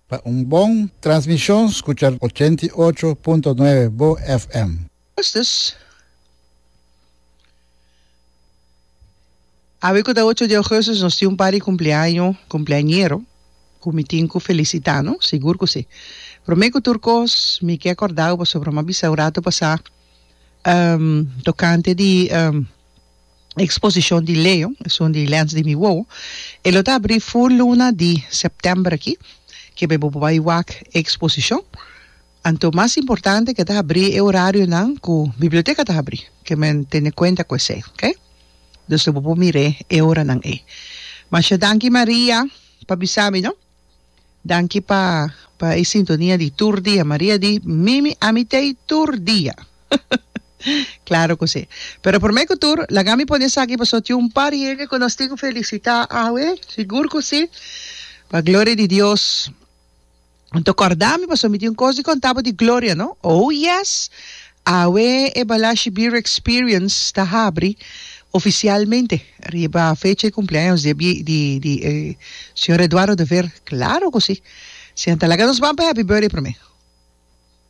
Pa un bon transmishon skucha 88.9 Bo FM. Augustus. Awe ku ta ocho di augustus nos tin un par di kumpleaño, kumpleañero, ku mi tin ku felisitá, no? Sigur ku si. Promé ku tur kos mi ke kòrda bo pasobra mi a bisa un ratu pasá tokante di Exposicion di Leo, esun di Lens di mi wowo, e lo ta abri fur luna di september aki, kebe bo por bai wak e exposicion. Anto mas importante ke ta abri e horarionan ku biblioteca ta abri, ke men tene kuenta ku esei, ok? Dus lo bo por mir'é e oranan ei. Masha danki Maria pa bisa mi no. Danki pa pa e sintonia di tur dia. Maria di, Mimi ami t'ei tur dia. Claro cu si. Pero prome cu tur, laga mi pone esaki pasobra tin un par hende cu nos tin cu felicita awe. Sigur cu si. Pa gloria di Dios. Anto corda mi pasobra mi tin un cos di conta bo di gloria, no? Oh yes! Awe e Balashi Beer Experience ta habri oficialmente riba fecha di cumpleaños di e di di e señor Eduardo de Veer. Claro cu si. Si anto laga nos ban pa happy birthday prome.